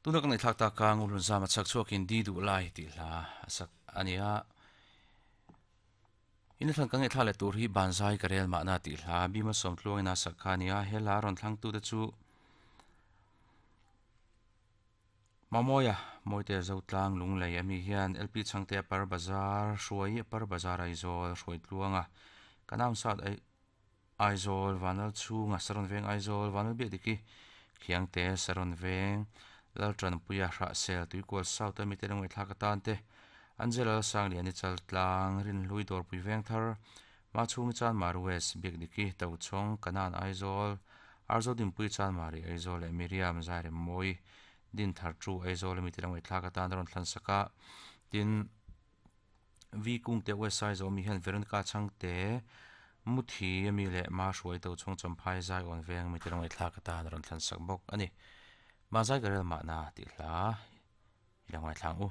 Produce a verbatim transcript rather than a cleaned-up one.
Tuna kan thlak ta ka ngulun zama chak chuakin di du lai ti hla sak ania in thlan kan thla le tur hi banzai karel ma na ti hla bima som tluang ina sak khania hela ron thlang tu te chu mamoya moite zotlang lunglei ami hian lp changte par bazar hruai par bazar Aizawl hruai tluanga kanam sat ai Aizawl vanal chunga saron veng Aizawl vanal bi diki khiangte saron veng laltran puia hra sel tuikual south ami te lungei thlak atan te Angela sang liani chal tlang rin hlui dawr pui veng thar ma chhung chan mar west biak diki to chhong kanan Aizawl arzo din pui chan mari Aizawl le Miriam zaire moi din thar chu Aizawl mi te lungei thlak atan ron thlan saka tin vi kung te west Aizawl mi hian Veronica changte muthi ami le ma hruai to chhong champhai zai on veng mi te lungei thlak atan ron thlan sak bawk ani ma zai garel ma na ti hla ilangwai thlang u.